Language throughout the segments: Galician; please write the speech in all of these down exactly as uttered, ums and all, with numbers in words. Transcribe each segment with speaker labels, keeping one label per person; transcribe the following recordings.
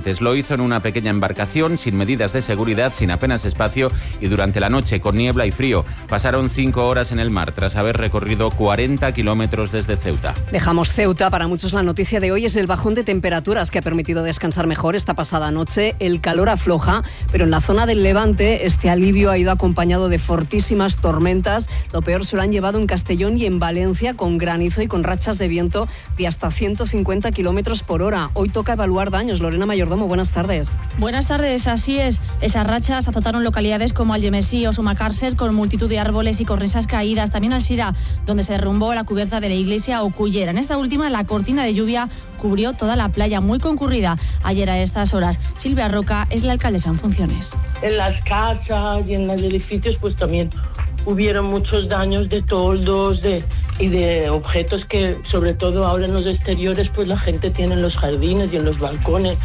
Speaker 1: tripulantes. Lo hizo en una pequeña embarcación, sin medidas de seguridad, sin apenas espacio y durante la noche, con niebla y frío. Pasaron cinco horas en el mar tras haber recorrido cuarenta kilómetros desde Ceuta.
Speaker 2: Dejamos Ceuta. Para muchos la noticia de hoy es el bajón de temperaturas que ha permitido descansar mejor esta pasada noche. El calor afloja, pero en la zona del Levante este alivio ha ido acompañado de fortísimas tormentas. Lo peor se lo han llevado en Castellón y en Valencia, con granizo y con rachas de viento de hasta ciento cincuenta kilómetros por hora. Hoy toca evaluar daños. Lorena Mayordomo, buenas tardes.
Speaker 3: Buenas tardes, así es. Esas rachas azotaron localidades como Algemesí o Sumacàrcer, con multitud de árboles y cornisas caídas. También Alzira, donde se derrumbó la cubierta de la iglesia, o Cullera. En esta última, la cortina de lluvia cubrió toda la playa, muy concurrida ayer a estas horas. Silvia Roca es la alcaldesa en funciones.
Speaker 4: En las casas y en los edificios pues también hubieron muchos daños de toldos de, y de objetos que, sobre todo ahora en los exteriores, pues la gente tiene en los jardines y en los balcones,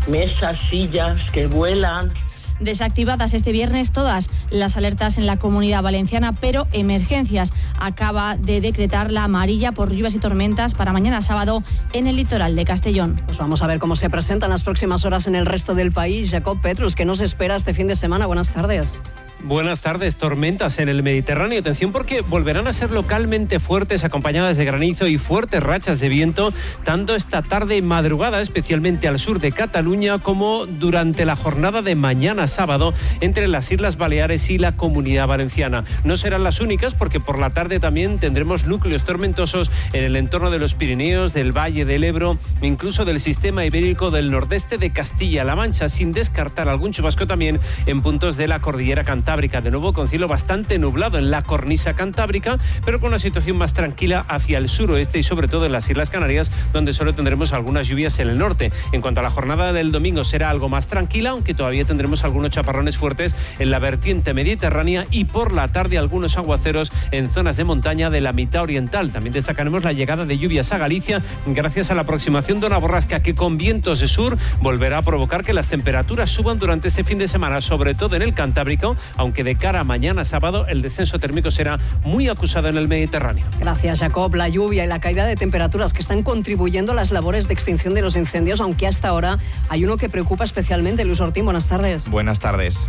Speaker 4: mesas, sillas que vuelan.
Speaker 3: Desactivadas este viernes todas las alertas en la Comunidad Valenciana, pero emergencias acaba de decretar la amarilla por lluvias y tormentas para mañana sábado en el litoral de Castellón.
Speaker 2: Pues vamos a ver cómo se presentan las próximas horas en el resto del país. Jacob Petrus, ¿qué nos espera este fin de semana? Buenas tardes.
Speaker 5: Buenas tardes. Tormentas en el Mediterráneo. Atención, porque volverán a ser localmente fuertes, acompañadas de granizo y fuertes rachas de viento, tanto esta tarde y madrugada, especialmente al sur de Cataluña, como durante la jornada de mañana sábado entre las Islas Baleares y la Comunidad Valenciana. No serán las únicas, porque por la tarde también tendremos núcleos tormentosos en el entorno de los Pirineos, del Valle del Ebro, incluso del sistema ibérico del nordeste de Castilla-La Mancha, sin descartar algún chubasco también en puntos de la cordillera Cantábrica. De nuevo con cielo bastante nublado en la cornisa cantábrica, pero con una situación más tranquila hacia el suroeste y sobre todo en las Islas Canarias, donde solo tendremos algunas lluvias en el norte. En cuanto a la jornada del domingo, será algo más tranquila, aunque todavía tendremos algunos chaparrones fuertes en la vertiente mediterránea y por la tarde algunos aguaceros en zonas de montaña de la mitad oriental. También destacaremos la llegada de lluvias a Galicia gracias a la aproximación de una borrasca que con vientos de sur volverá a provocar que las temperaturas suban durante este fin de semana, sobre todo en el Cantábrico, aunque de cara a mañana sábado el descenso térmico será muy acusado en el Mediterráneo.
Speaker 2: Gracias, Jacob. La lluvia y la caída de temperaturas que están contribuyendo a las labores de extinción de los incendios, aunque hasta ahora hay uno que preocupa especialmente. Luis Ortín, buenas tardes.
Speaker 6: Buenas tardes.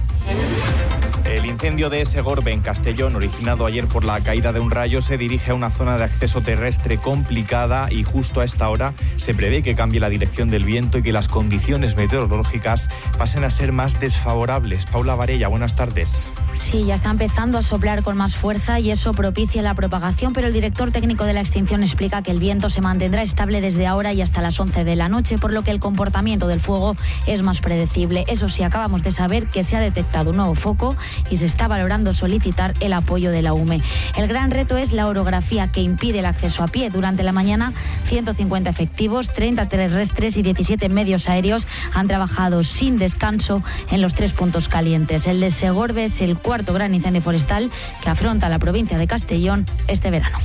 Speaker 6: El incendio de Segorbe en Castellón, originado ayer por la caída de un rayo, se dirige a una zona de acceso terrestre complicada y justo a esta hora se prevé que cambie la dirección del viento y que las condiciones meteorológicas pasen a ser más desfavorables. Paula Varella, buenas tardes.
Speaker 7: Sí, ya está empezando a soplar con más fuerza y eso propicia la propagación, pero el director técnico de la extinción explica que el viento se mantendrá estable desde ahora y hasta las once de la noche, por lo que el comportamiento del fuego es más predecible. Eso sí, acabamos de saber que se ha detectado un nuevo foco y se está valorando solicitar el apoyo de la U M E. El gran reto es la orografía que impide el acceso a pie. Durante la mañana, ciento cincuenta efectivos, treinta terrestres y diecisiete medios aéreos han trabajado sin descanso en los tres puntos calientes. El de Segorbe es el cuarto gran incendio forestal que afronta la provincia de Castellón este verano.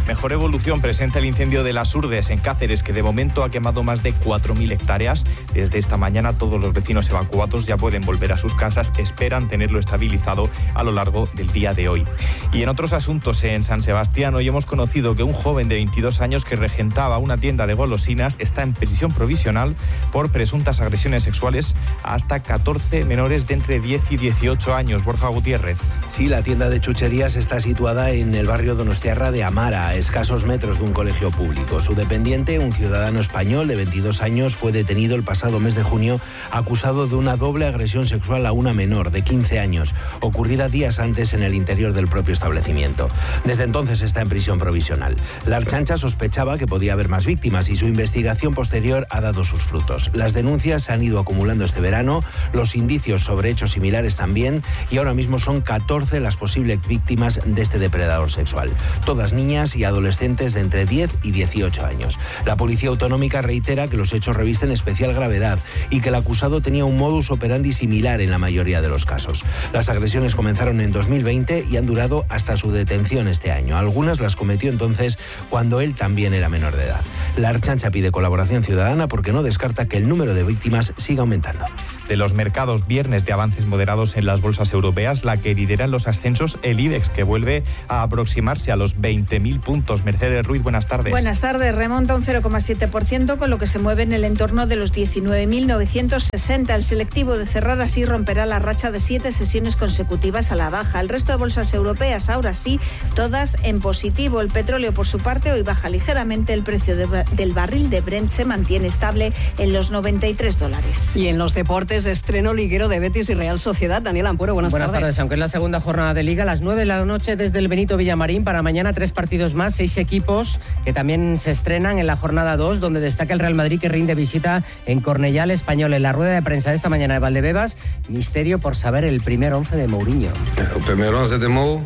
Speaker 6: Mejor evolución presenta el incendio de las Urdes en Cáceres, que de momento ha quemado más de cuatro mil hectáreas. Desde esta mañana todos los vecinos evacuados ya pueden volver a sus casas, esperan tenerlo estabilizado a lo largo del día de hoy. Y en otros asuntos, en San Sebastián hoy hemos conocido que un joven de veintidós años que regentaba una tienda de golosinas está en prisión provisional por presuntas agresiones sexuales a hasta catorce menores de entre diez y dieciocho años. Borja Gutiérrez.
Speaker 8: Sí, la tienda de chucherías está situada en el barrio donostiarra de Amara, a escasos metros de un colegio público. Su dependiente, un ciudadano español de veintidós años, fue detenido el pasado mes de junio acusado de una doble agresión sexual a una menor de quince años, ocurrida días antes en el interior del propio establecimiento. Desde entonces está en prisión provisional. La Ertzaintza sospechaba que podía haber más víctimas y su investigación posterior ha dado sus frutos. Las denuncias se han ido acumulando este verano, los indicios sobre hechos similares también, y ahora mismo son catorce las posibles víctimas de este depredador sexual. Todas niñas y adolescentes de entre diez y dieciocho años. La Policía Autonómica reitera que los hechos revisten especial gravedad y que el acusado tenía un modus operandi similar en la mayoría de los casos. Las agresiones comenzaron en dos mil veinte y han durado hasta su detención este año. Algunas las cometió entonces cuando él también era menor de edad. La Ertzaintza pide colaboración ciudadana porque no descarta que el número de víctimas siga aumentando.
Speaker 6: de los mercados. Viernes de avances moderados en las bolsas europeas, la que lidera en los ascensos el IBEX, que vuelve a aproximarse a los veinte mil puntos. Mercedes Ruiz, buenas tardes.
Speaker 9: Buenas tardes. Remonta un cero coma siete por ciento, con lo que se mueve en el entorno de los diecinueve mil novecientos sesenta. El selectivo, de cerrar así, romperá la racha de siete sesiones consecutivas a la baja. El resto de bolsas europeas, ahora sí, todas en positivo. El petróleo, por su parte, hoy baja ligeramente. El precio de, del barril de Brent se mantiene estable en los noventa y tres dólares.
Speaker 2: Y en los deportes, estreno liguero de Betis y Real Sociedad. Daniel Ampuero, buenas,
Speaker 10: buenas tardes. Buenas tardes. Aunque es la segunda jornada de Liga, a las nueve de la noche desde el Benito Villamarín. Para mañana tres partidos más, seis equipos que también se estrenan en la jornada dos, donde destaca el Real Madrid, que rinde visita en Cornellá al Español. En la rueda de prensa de esta mañana de Valdebebas, misterio por saber el primer once de Mourinho.
Speaker 11: El primer once de Mou.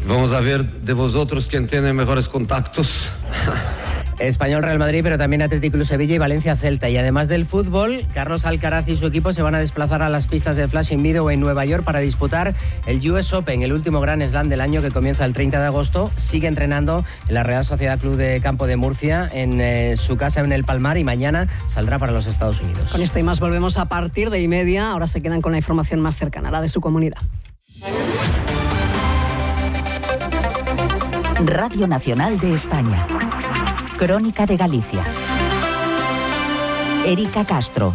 Speaker 11: Vamos a ver de vosotros quién tiene mejores contactos.
Speaker 10: Español, Real Madrid, pero también Atlético Club Sevilla y Valencia Celta. Y además del fútbol, Carlos Alcaraz y su equipo se van a desplazar a las pistas del Flushing Meadows en Nueva York para disputar el U S Open, el último Grand Slam del año, que comienza el treinta de agosto. Sigue entrenando en la Real Sociedad Club de Campo de Murcia, en eh, su casa en el Palmar, y mañana saldrá para los Estados Unidos.
Speaker 2: Con esto y más volvemos a partir de y media. Ahora se quedan con la información más cercana, la de su comunidad.
Speaker 12: Radio Nacional de España. Crónica de Galicia. Erika Castro.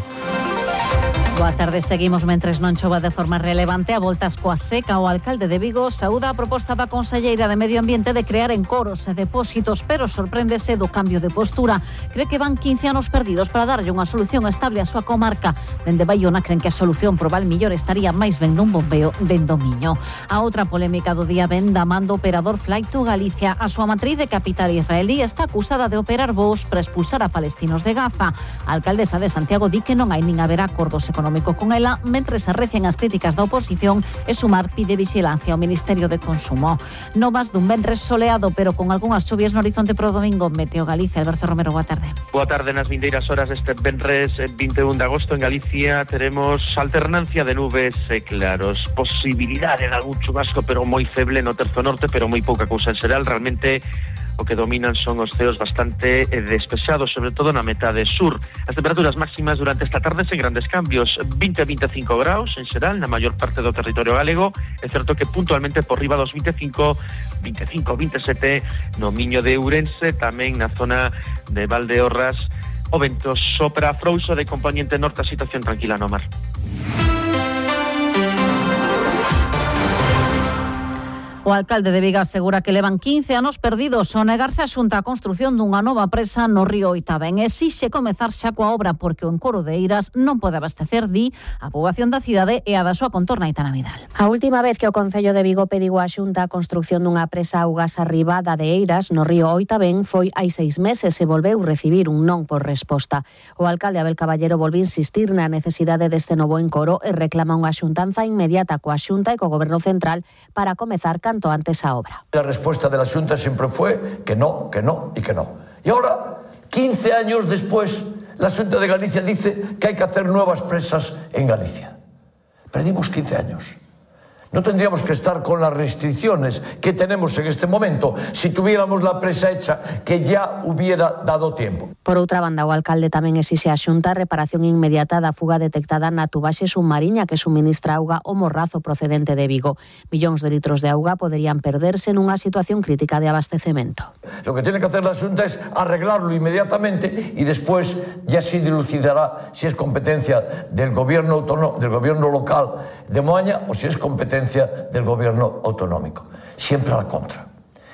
Speaker 13: Boa tarde, seguimos mentres non chova de forma relevante. A voltas coa seca, o alcalde de Vigo saúda a proposta da conselleira de Medio Ambiente de crear encoros e depósitos, pero sorpréndese do cambio de postura. Cree que van quince anos perdidos para darlle unha solución estable á súa comarca. Dende Baiona creen que a solución pro Val Millor estaría máis ben nun bombeo dende o Miño. A outra polémica do día ven da man do operador Flight to Galicia. A súa matriz de capital israelí está acusada de operar voos para expulsar a palestinos de Gaza. A alcaldesa de Santiago di que non hai nin haberá acordos económicos con ela, mentre se arrecian as críticas da oposición, e Sumar pide vixilancia ao Ministerio de Consumo. Novas dun venres soleado, pero con algunhas chuvias no horizonte pro domingo. Meteo Galicia, Alberto Romero, boa tarde.
Speaker 14: Boa tarde. Nas vindeiras horas este venres vinte e un de agosto en Galicia teremos alternancia de nubes e claros, posibilidade de algún chubasco, pero moi feble no terzo norte, pero moi pouca cousa en xeral. Realmente o que dominan son os ceos bastante despesados, sobre todo na metade sur. As temperaturas máximas durante esta tarde sen grandes cambios, vinte a vinte e cinco graus en xeral na maior parte do territorio galego. É certo que puntualmente por riba dos vinte e cinco, vinte e cinco, vinte e sete no Miño de Ourense, tamén na zona de Valdeorras. O vento sopra frouxo de componente norte, a situación tranquila no mar.
Speaker 13: O alcalde de Vigo asegura que levan quince anos perdidos ao negarse a xunta a construción dunha nova presa no río Oitavén. Exixe comezar xa coa obra porque o encoro de Eiras non pode abastecer, di, a poboación da cidade e a da súa contorna. Aitana Vidal.
Speaker 15: A última vez que o Concello de Vigo pediu a xunta a construción dunha presa augas arribada de Eiras no río Oitavén foi hai seis meses e volveu recibir un non por resposta. O alcalde Abel Caballero volve insistir na necesidade deste novo encoro e reclama unha xuntanza inmediata coa xunta e co goberno central para comezar canto antes a obra.
Speaker 16: La respuesta de la Xunta siempre fue que no, que no y que no. Y ahora, quince años después, la Xunta de Galicia dice que hay que hacer nuevas presas en Galicia. Perdimos quince años. No tendríamos que estar con las restricciones que tenemos en este momento si tuviéramos la presa hecha, que ya hubiera dado tiempo.
Speaker 15: Por outra banda, o alcalde tamén exixe a Xunta reparación inmediata da fuga detectada na tubaxe submarina que suministra auga ao Morrazo procedente de Vigo. Millóns de litros de auga poderían perderse nunha situación crítica de abastecemento.
Speaker 16: Lo que tiene que hacer la Xunta es arreglarlo inmediatamente y después ya se dilucidará si es competencia del gobierno autónomo, del gobierno local de Moaña o si es competencia del gobierno autonómico. Siempre a la contra.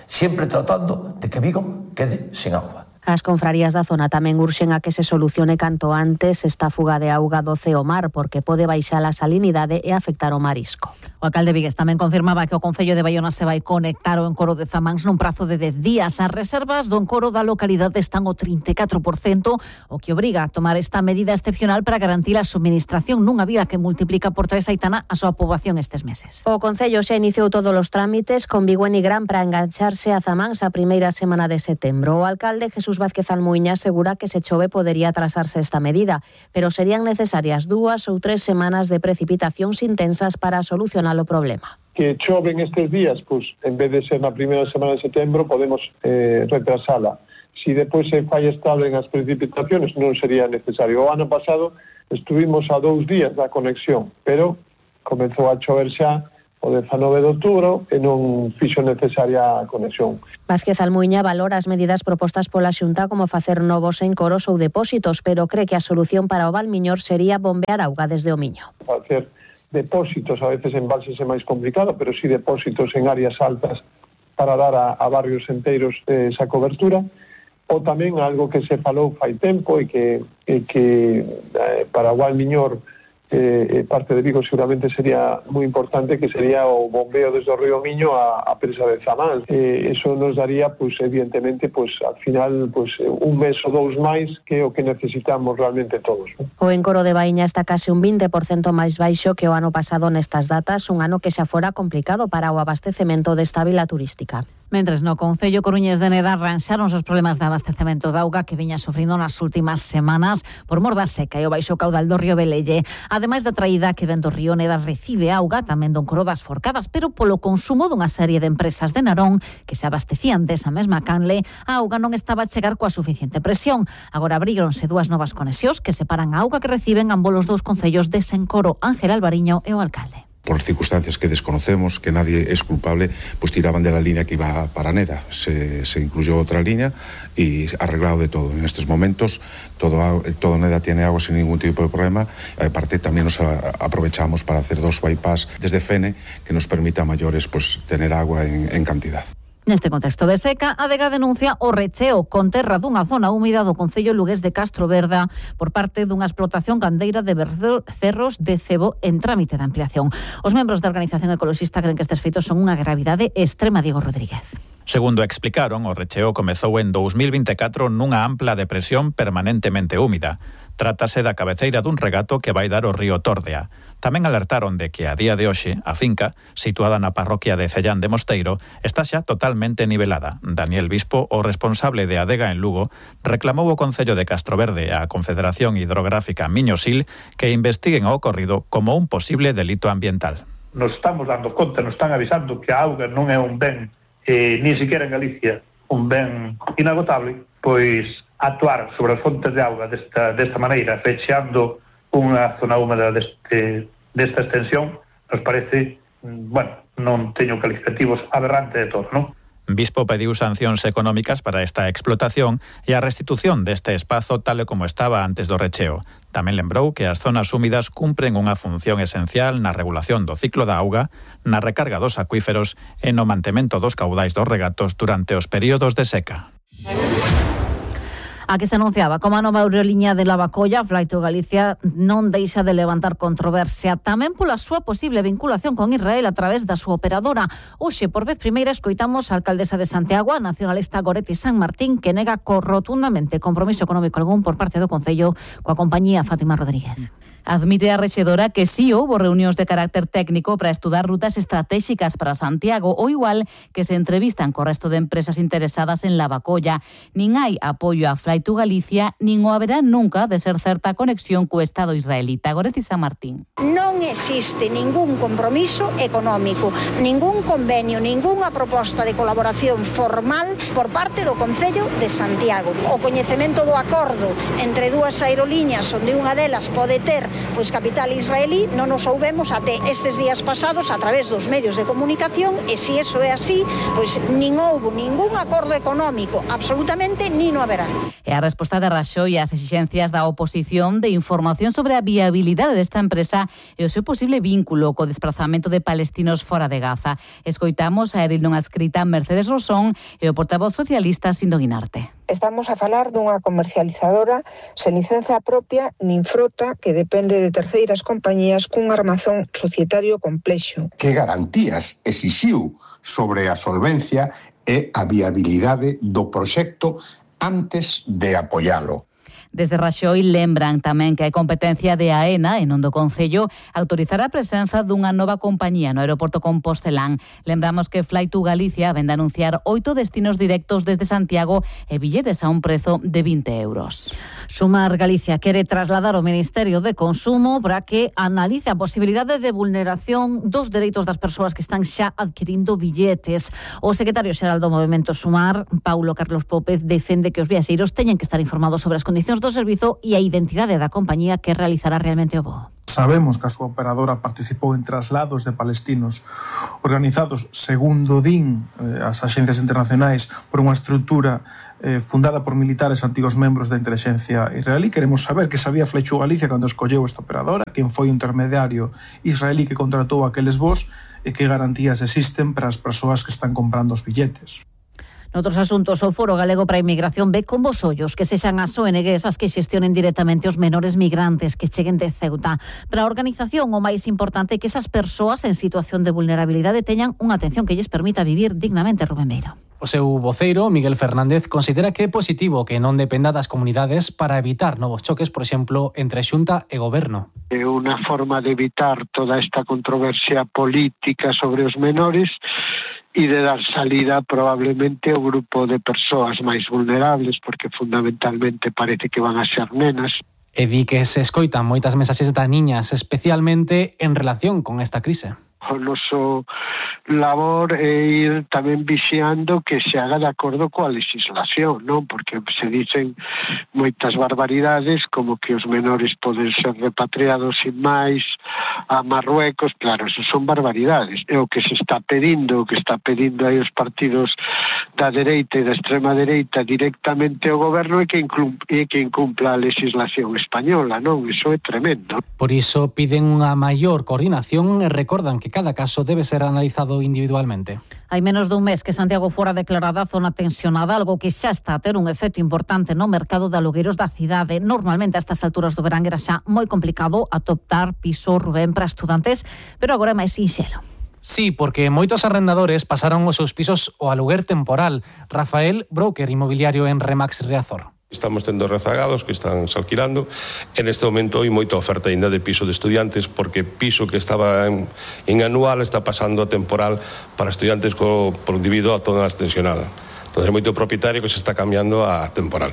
Speaker 16: Siempre tratando de que Vigo quede sin agua.
Speaker 15: As confrarías da zona tamén urxen a que se solucione canto antes esta fuga de auga do Ceo Mar, porque pode baixar a salinidade e afectar o marisco.
Speaker 13: O alcalde vigués tamén confirmaba que o Concello de Baiona se vai conectar ao encoro de Zamáns nun prazo de dez días. As reservas do encoro da localidade están ao trinta e catro por cento, o que obriga a tomar esta medida excepcional para garantir a suministración nunha vía que multiplica por tres, Aitana, a súa poboación estes meses.
Speaker 15: O Concello xa iniciou todos os trámites con Vigo e Nigrán para engancharse a Zamáns a primeira semana de setembro. O alcalde Jesús Vázquez Almuiña asegura que se chove podería atrasarse esta medida, pero serían necesarias dúas ou tres semanas de precipitacións intensas para solucionar o problema.
Speaker 17: Que choven estes días, pois en vez de ser na primeira semana de setembro, podemos eh, retrasala. Si depois se fai estable en as precipitacións, non sería necesario. O ano pasado estuvimos a dous días da conexión, pero comezou a chover xa o dezanove de outubro e non fixo necesaria a conexión.
Speaker 15: Vázquez Almuiña valora as medidas propostas pola Xunta como facer novos encoros ou depósitos, pero cree que a solución para o Valmiñor sería bombear auga desde o Miño.
Speaker 17: Facer depósitos, a veces en embalses é máis complicado, pero sí depósitos en áreas altas para dar a, a barrios enteiros eh, esa cobertura, ou tamén algo que se falou fai tempo e que, e que eh, para o Valmiñor Eh, parte de Vigo seguramente sería moi importante, que sería o bombeo desde o río Miño a, a presa de Zamán. Eh, eso nos daría, pues, evidentemente, pues, al final, pues, un mes ou dous máis que é o que necesitamos realmente todos, ¿no?
Speaker 15: O encoro de Baíña está case un vinte por cento máis baixo que o ano pasado nestas datas, un ano que xa fora complicado para o abastecemento desta vila turística.
Speaker 13: Mentres no Concello coruñés de Neda arranxaron os problemas de abastecemento de auga que viña sufrindo nas últimas semanas por mor da seca e o baixo caudal do río Velelle. Ademais da traída que ven do río Neda recibe auga tamén do encoro das Forcadas, pero polo consumo dunha serie de empresas de Narón que se abastecían desa mesma canle, a auga non estaba a chegar coa suficiente presión. Agora abríronse dúas novas conexións que separan a auga que reciben ambos os dous concellos dese encoro. Ángel Alvariño e o alcalde.
Speaker 18: Por circunstancias que desconocemos, que nadie es culpable, pues tiraban de la línea que iba para Neda. Se, se incluyó otra línea y arreglado de todo. En estos momentos todo, todo Neda tiene agua sin ningún tipo de problema. Aparte también nos a, aprovechamos para hacer dos bypass desde Fene que nos permita a mayores pues tener agua en, en cantidad.
Speaker 13: Neste contexto de seca, a Adega denuncia o recheo con terra dunha zona húmida do concello lugués de Castroverda por parte dunha explotación gandeira de cerros de cebo en trámite de ampliación. Os membros da organización ecoloxista creen que estes feitos son unha gravidade extrema. Diego Rodríguez.
Speaker 19: Segundo explicaron, o recheo comezou en dous mil vinte e catro nunha ampla depresión permanentemente húmida. Trátase da cabeceira dun regato que vai dar o río Tórdea. Tamén alertaron de que a día de hoxe a finca, situada na parroquia de Cellán de Mosteiro, está xa totalmente nivelada. Daniel Bispo, o responsable de Adega en Lugo, reclamou ao Concello de Castroverde a Confederación Hidrográfica Miño-Sil que investiguen o ocorrido como un posible delito ambiental.
Speaker 20: Nos estamos dando conta, nos están avisando que a auga non é un ben, eh, ni siquiera en Galicia, un ben inagotable, pois actuar sobre as fontes de auga desta, desta maneira, fechando unha zona húmeda deste, desta extensión, nos parece, bueno, non teño calificativos, aberrante de todo, non?
Speaker 19: Bispo pediu sancións económicas para esta explotación e a restitución deste espazo tal e como estaba antes do recheo. Tamén lembrou que as zonas húmidas cumpren unha función esencial na regulación do ciclo da auga, na recarga dos acuíferos e no mantemento dos caudais dos regatos durante os períodos de seca.
Speaker 13: A que se anunciaba como a nova aeroliña de Lavacolla, Flight to Galicia non deixa de levantar controversia tamén pola súa posible vinculación con Israel a través da súa operadora. Hoxe, por vez primeira, escoitamos a alcaldesa de Santiago, a nacionalista Goretti San Martín, que nega rotundamente compromiso económico algún por parte do Concello coa compañía. Fátima Rodríguez.
Speaker 21: Admite a rexedora que sí houbo reunións de carácter técnico para estudar rutas estratégicas para Santiago, ou igual que se entrevistan co resto de empresas interesadas en Lavacolla. Nin hai apoio a Flight to Galicia, nin o haberá nunca de ser certa conexión co Estado israelita. Goretti San Martín.
Speaker 22: Non existe ningún compromiso económico, ningún convenio, ningunha proposta de colaboración formal por parte do Concello de Santiago. O coñecemento do acordo entre dúas aerolíneas onde unha delas pode ter pois capital israelí non nos soubemos até estes días pasados a través dos medios de comunicación, e se iso é así, pois nin houbo ningún acordo económico, absolutamente nin o haberá.
Speaker 21: E a resposta de Raxoi ás exixencias da oposición de información sobre a viabilidade desta empresa e o seu posible vínculo co desprazamento de palestinos fora de Gaza. Escoitamos a edil non adscrita Mercedes Rosón e o portavoz socialista Sindo Guinarte.
Speaker 23: Estamos a falar dunha comercializadora sen licenza propia nin frota que depende de terceiras compañías cun armazón societario complexo.
Speaker 24: Que garantías exixiu sobre a solvencia e a viabilidade do proxecto antes de apoialo?
Speaker 21: Desde Raxoi lembran tamén que hai competencia de AENA e non do Concello autorizar a presenza dunha nova compañía no aeroporto Compostelán. Lembramos que Flight to Galicia vende a anunciar oito destinos directos desde Santiago e billetes a un prezo de vinte euros.
Speaker 13: Sumar Galicia quere trasladar ao Ministerio de Consumo para que analice a posibilidade de vulneración dos dereitos das persoas que están xa adquirindo billetes. O secretario xeral do Movemento Sumar, Paulo Carlos Pópez, defende que os viaxeiros teñen que estar informados sobre as condicións condicións do servizo e a identidade da compañía que realizará realmente o voo.
Speaker 1: Sabemos que a súa operadora participou en traslados de palestinos organizados, segundo din eh, as axencias internacionais, por unha estrutura eh, fundada por militares antigos membros da inteligencia israelí. Queremos saber que sabía Flexo Galicia cando escolleu esta operadora, quen foi o intermediario israelí que contratou aqueles voos e que garantías existen para as persoas que están comprando os billetes.
Speaker 13: Noutros asuntos, o Foro Galego para a Inmigración ve con bos ollos que sexan as O N Gs as que xestionen directamente os menores migrantes que cheguen de Ceuta. Para a organización, o máis importante é que esas persoas en situación de vulnerabilidade teñan unha atención que lles permita vivir dignamente. Rubén Beiro.
Speaker 3: O seu voceiro, Miguel Fernández, considera que é positivo que non dependa das comunidades para evitar novos choques, por exemplo, entre Xunta e Goberno.
Speaker 4: É unha forma de evitar toda esta controversia política sobre os menores e de dar salida probablemente ao grupo de persoas máis vulnerables, porque fundamentalmente parece que van a ser nenas.
Speaker 3: E di que se escoitan moitas mensaxes da niñas, especialmente en relación con esta crise.
Speaker 4: O noso labor é ir tamén vixiando que se haga de acordo coa legislación, non? Porque se dicen moitas barbaridades como que os menores poden ser repatriados sin máis a Marruecos. Claro, eso son barbaridades. É o que se está pedindo, o que está pedindo aí os partidos da dereita e da extrema dereita directamente ao goberno é que incumpla, é que incumpla a legislación española, non? Iso é tremendo.
Speaker 3: Por iso piden unha maior coordinación e recordan que cada caso debe ser analizado individualmente.
Speaker 13: Hai menos dun mes que Santiago fora declarada zona tensionada, algo que xa está a ter un efecto importante no mercado de alugueiros da cidade. Normalmente a estas alturas do verán era xa moi complicado atoptar piso, Rubén, para estudantes, pero agora é máis sinxelo.
Speaker 3: Sí, porque moitos arrendadores pasaron os seus pisos ao aluguer temporal. Rafael, broker inmobiliario en Remax Riazor.
Speaker 5: Estamos tendo rezagados que están se alquilando. En este momento hai moita oferta ainda de piso de estudiantes, porque piso que estaba en, en anual está pasando a temporal para estudiantes co, por debido a toda a tensionada. Entón, é moito propietario que se está cambiando a temporal.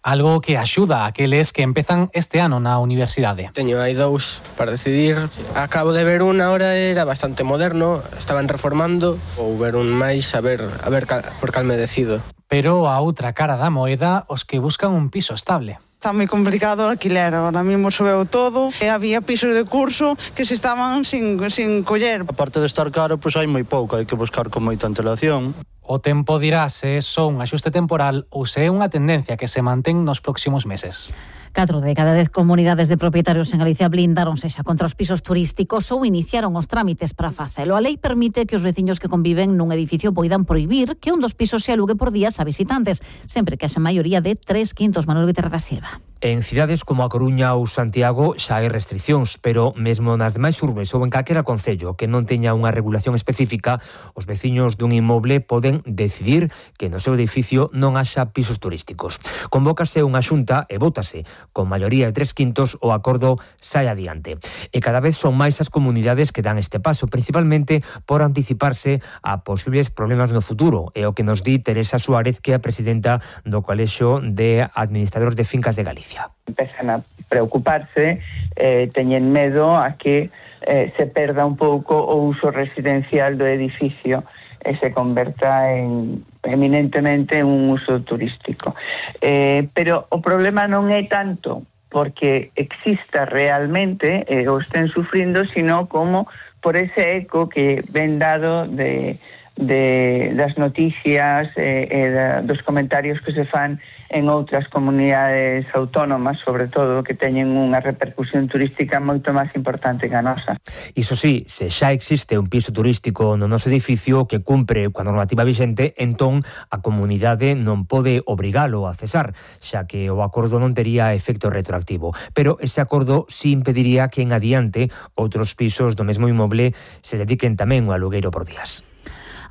Speaker 3: Algo que axuda a aqueles que empezan este ano na universidade.
Speaker 25: Teño aí dous para decidir. Acabo de ver unha, ahora era bastante moderno, estaban reformando, ou ver un máis, a ver, a ver por cal me decido.
Speaker 3: Pero a outra cara da moeda, os que buscan un piso estable.
Speaker 26: Está moi complicado o alquiler, ahora mesmo subeu todo e había pisos de curso que se estaban sin, sin coller.
Speaker 27: Aparte de estar caro, pois hai moi pouco, hai que buscar con moita antelación.
Speaker 3: O tempo dirá se é só un axuste temporal ou se é unha tendencia que se mantén nos próximos meses.
Speaker 13: Catro de cada dez comunidades de propietarios en Galicia blindáronse xa contra os pisos turísticos ou iniciaron os trámites para facelo. A lei permite que os veciños que conviven nun edificio poidan prohibir que un dos pisos se alugue por días a visitantes, sempre que haxa maioría de tres quintos. Manuel Guterra da Silva.
Speaker 28: En cidades como a Coruña ou Santiago xa hai restriccións, pero mesmo nas demais urbes ou en calquera concello que non teña unha regulación específica, os veciños dun inmoble poden decidir que no seu edificio non haxa pisos turísticos. Convócase unha xunta e vótase. Con maioría de tres quintos o acordo sai adiante. E cada vez son máis as comunidades que dan este paso, principalmente por anticiparse a posibles problemas no futuro. É o que nos di Teresa Suárez, que é a presidenta do Colexio de Administradores de Fincas de Galicia.
Speaker 29: Empezan a preocuparse, eh, teñen medo a que eh, se perda un pouco o uso residencial do edificio e se converta en eminentemente un uso turístico. Eh, pero o problema non é tanto porque exista realmente eh, o estén sufrindo, sino como por ese eco que ven dado de, de das noticias e eh, eh, dos comentarios que se fan en outras comunidades autónomas, sobre todo, que teñen unha repercusión turística moito máis importante que a nosa.
Speaker 28: Iso sí, se xa existe un piso turístico no noso edificio que cumpre coa normativa vixente, entón a comunidade non pode obrigalo a cesar, xa que o acordo non tería efecto retroactivo. Pero ese acordo sí impediría que en adiante outros pisos do mesmo inmoble se dediquen tamén ao alugueiro por días.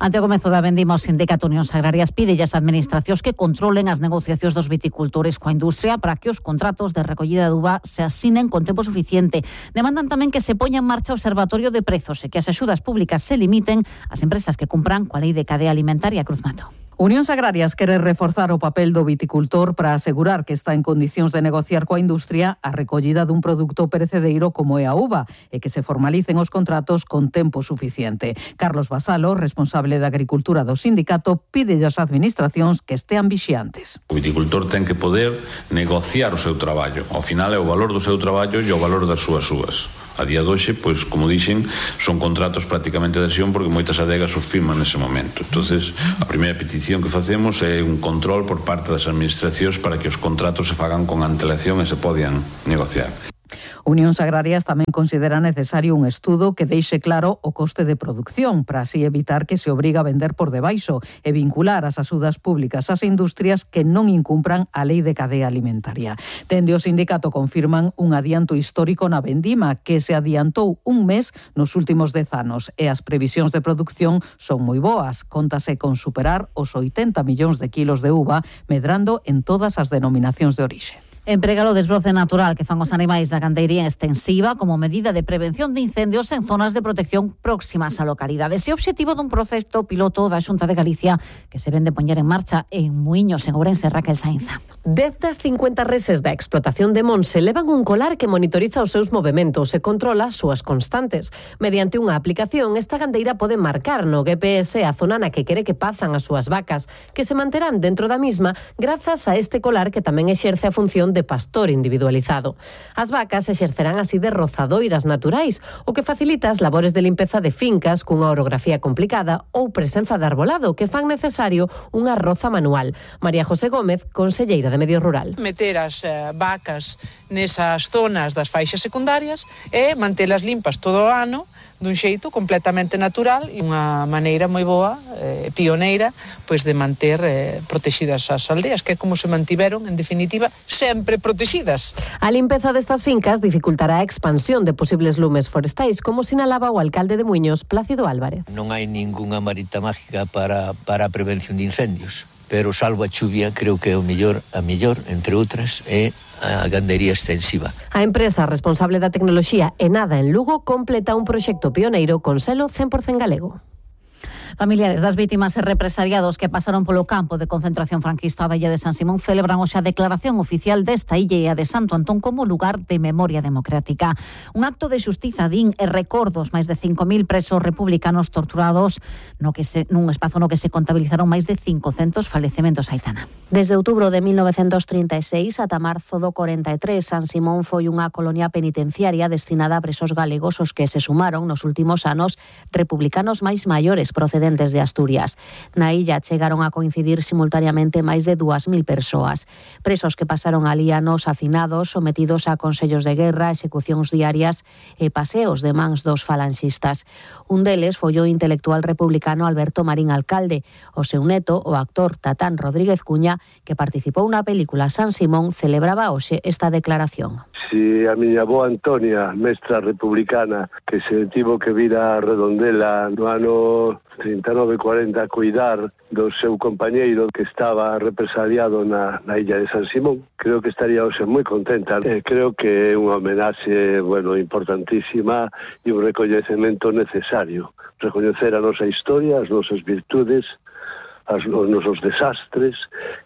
Speaker 13: Ante o comezo da vendima, o Sindicato Unións Agrarias pide as administracións que controlen as negociacións dos viticultores coa industria para que os contratos de recollida de uva se asinen con tempo suficiente. Demandan tamén que se poña en marcha o Observatorio de Prezos e que as axudas públicas se limiten ás empresas que cumpran coa lei de cadea alimentaria. Cruz Mato.
Speaker 2: Unións Agrarias quere reforzar o papel do viticultor para asegurar que está en condicións de negociar coa industria a recollida dun produto perecedeiro como é a uva e que se formalicen os contratos con tempo suficiente. Carlos Basalo, responsable de Agricultura do sindicato, pide ás administracións que estean vixiantes.
Speaker 6: O viticultor ten que poder negociar o seu traballo. Ao final é o valor do seu traballo e o valor das súas uvas. A día de hoxe, pois, como dixen, son contratos prácticamente de adhesión porque moitas adegas os firman nese momento. Entonces, a primeira petición que facemos é un control por parte das administracións para que os contratos se fagan con antelación e se podan negociar.
Speaker 2: Unións Agrarias tamén considera necesario un estudo que deixe claro o coste de produción para así evitar que se obriga a vender por debaixo e vincular as axudas públicas ás industrias que non incumpran a lei de cadea alimentaria. Dende o sindicato confirman un adianto histórico na vendima que se adiantou un mes nos últimos dez anos e as previsións de produción son moi boas. Cóntase con superar os oitenta millóns de kilos de uva, medrando en todas as denominacións de orixe.
Speaker 13: Emprega o desbroce natural que fan os animais da gandeiría extensiva como medida de prevención de incendios en zonas de protección próximas a localidades. E o obxectivo dun proxecto piloto da Xunta de Galicia que se ven de poñer en marcha en Muiños, en Ourense. Raquel Sainza.
Speaker 7: Dez das cincuenta reses da explotación de Monse levan un colar que monitoriza os seus movementos e controla as súas constantes. Mediante unha aplicación, esta gandeira pode marcar no G P S a zona na que quere que pazan as súas vacas, que se manterán dentro da misma grazas a este colar que tamén exerce a función de pastor individualizado. As vacas exercerán así de rozadoiras naturais, o que facilita as labores de limpeza de fincas cunha orografía complicada ou presenza de arbolado que fan necesario unha roza manual. María José Gómez, conselleira de Medio Rural.
Speaker 8: Meter as uh, vacas nesas zonas das faixas secundarias e mantelas limpas todo o ano dun xeito completamente natural e unha maneira moi boa, eh, pioneira, pois de manter eh, protegidas as aldeas, que é como se mantiveron, en definitiva, sempre protegidas.
Speaker 7: A limpeza destas fincas dificultará a expansión de posibles lumes forestais, como sinalaba o alcalde de Muiños, Plácido Álvarez.
Speaker 9: Non hai ningunha varita mágica para, para a prevención de incendios, pero salvo a chuvia, creo que é o mellor, a mellor, entre outras, é a gandería extensiva.
Speaker 7: A empresa responsable da tecnoloxía Enada en Lugo completa un proxecto pioneiro con selo cen por cento galego.
Speaker 13: Familiares das vítimas e represaliados que pasaron polo campo de concentración franquista da illa de San Simón celebran hoxe a declaración oficial desta illa e a de Santo Antón como lugar de memoria democrática. Un acto de xustiza, din, e recordos máis de cinco mil presos republicanos torturados no que se, nun espazo no que se contabilizaron máis de cincocentos falecementos. Aitana.
Speaker 15: Desde outubro de mil novecentos trinta e seis ata marzo do corenta e tres, San Simón foi unha colonia penitenciaria destinada a presos galegos os que se sumaron nos últimos anos republicanos máis maiores procedentes de Asturias. Na illa chegaron a coincidir simultaneamente máis de dúas mil persoas. Presos que pasaron alí anos hacinados, sometidos a consellos de guerra, execucións diarias e paseos de mans dos falanxistas. Un deles foi o intelectual republicano Alberto Marín Alcalde. O seu neto, o actor Tatán Rodríguez Cuña, que participou na película San Simón, celebraba hoxe esta declaración.
Speaker 10: Si a miña avó Antonia, mestra republicana, que se tivo que vir a Redondela no ano trinta e nove cuarenta a cuidar do seu compañeiro que estaba represaliado na, na illa de San Simón, creo que estaría hoxe moi contenta. Eh, creo que é unha homenaxe, bueno, importantísima e un recoñecemento necesario. Recoñecer a nosa historia, as nosas virtudes, os nosos desastres,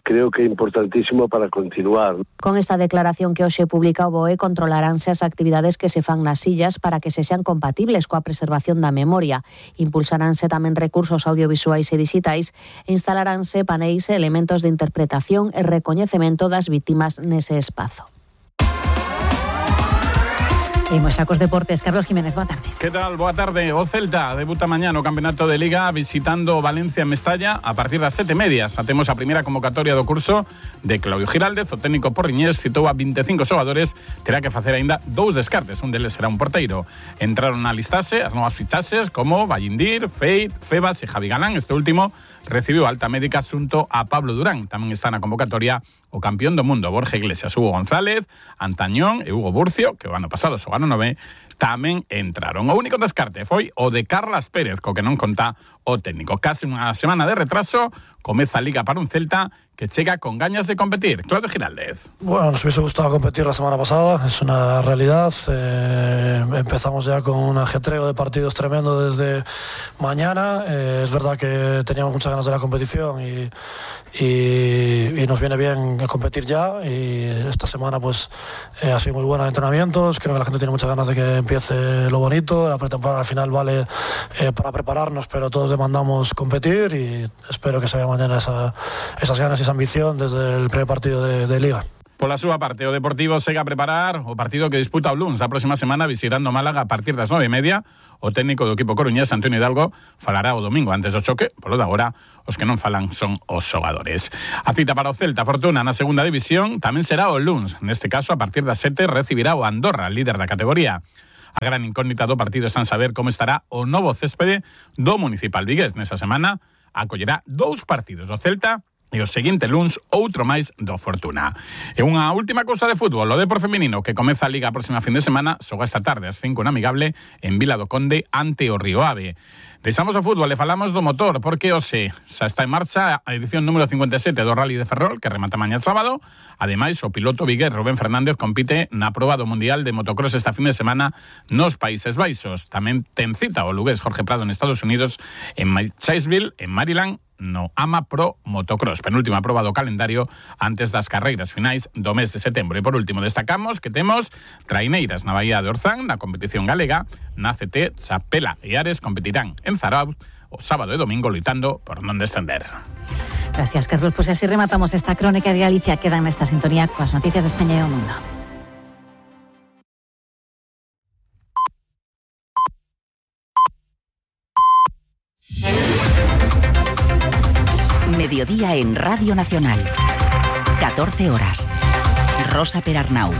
Speaker 10: creo que é importantísimo para continuar.
Speaker 15: Con esta declaración que hoxe publica o B O E, controlaránse as actividades que se fan nas illas para que se sean compatibles coa preservación da memoria. Impulsaránse tamén recursos audiovisuais e digitais e instalaránse paneis e elementos de interpretación e recoñecemento das vítimas nese espazo.
Speaker 13: Imos xa cos deportes. Carlos Jiménez, boa tarde.
Speaker 11: Que tal? Boa tarde. O Celta debuta mañá no Campeonato de Liga visitando Valencia en Mestalla a partir das sete e media. Xa temos a primeira convocatoria do curso de Claudio Giraldez. O técnico porriñés citou a vinte e cinco xogadores. Terá que facer aínda dous descartes. Un deles será un porteiro. Entraron na listaxe as novas fichaxes como Vallindir, Feit, Febas e Javi Galán. Este último recibiu alta médica xunto a Pablo Durán. Tamén está na convocatoria o campeón do mundo, Borja Iglesias, Hugo González, Antañón e Hugo Burcio, que o ano pasado xogaron nove, tamén entraron. O único descarte foi o de Carlas Pérez, co que non conta o técnico. Casi unha semana de retraso, comeza a Liga para un Celta que llega con ganas de competir. Claudio Giraldez.
Speaker 12: Bueno, nos hubiese gustado competir la semana pasada, es una realidad. Eh, empezamos ya con un ajetreo de partidos tremendo desde mañana. Eh, es verdad que teníamos muchas ganas de la competición y, y, y nos viene bien competir ya. Y esta semana pues eh, ha sido muy buena de entrenamientos. Creo que la gente tiene muchas ganas de que empiece lo bonito. La pretemporada al final vale eh, para prepararnos, pero todos demandamos competir y espero que se vea mañana esa, esas ganas y esa ambición desde el primer partido de, de Liga.
Speaker 11: Por la súa parte, o Deportivo segue a preparar o partido que disputa o luns a próxima semana visitando Málaga a partir das nove e media. O técnico do equipo coruñés, Antonio Hidalgo, falará o domingo antes do choque. Polo de agora, os que non falan son os xogadores. A cita para o Celta Fortuna na segunda división tamén será o luns. Neste caso, a partir das sete, recibirá o Andorra, líder da categoría. A gran incógnita do partido está en saber como estará o novo céspede do Municipal Vigués. Nesa semana acollerá dous partidos do Celta e o seguinte luns outro máis do Fortuna. E unha última cousa de fútbol, o Depor feminino que comeza a Liga a próxima fin de semana, xoga esta tarde ás cinco en Amigable en Vila do Conde ante o Río Ave. Deixamos o fútbol e falamos do motor, porque hoxe xa está en marcha a edición número cincuenta e sete do Rally de Ferrol, que remata mañá sábado. Ademais, o piloto vigués Rubén Fernández compite na proba do Mundial de Motocross esta fin de semana nos Países Baixos. Tamén ten cita o lugués Jorge Prado en Estados Unidos, en Chaseville, en Maryland, no AMA Pro Motocross, penúltima proba do calendario antes das carreiras finais do mes de setembro. E por último destacamos que temos traineiras na Baía de Orzán, na competición galega. Na C T, Chapela e Ares competirán en Zarauz o sábado e domingo loitando por non descender.
Speaker 13: Gracias, Carlos. Pues así rematamos esta crónica de Galicia. Quedan nesta sintonía coas noticias de España e o mundo.
Speaker 14: Mediodía en Radio Nacional. catorce horas. Rosa Perarnau.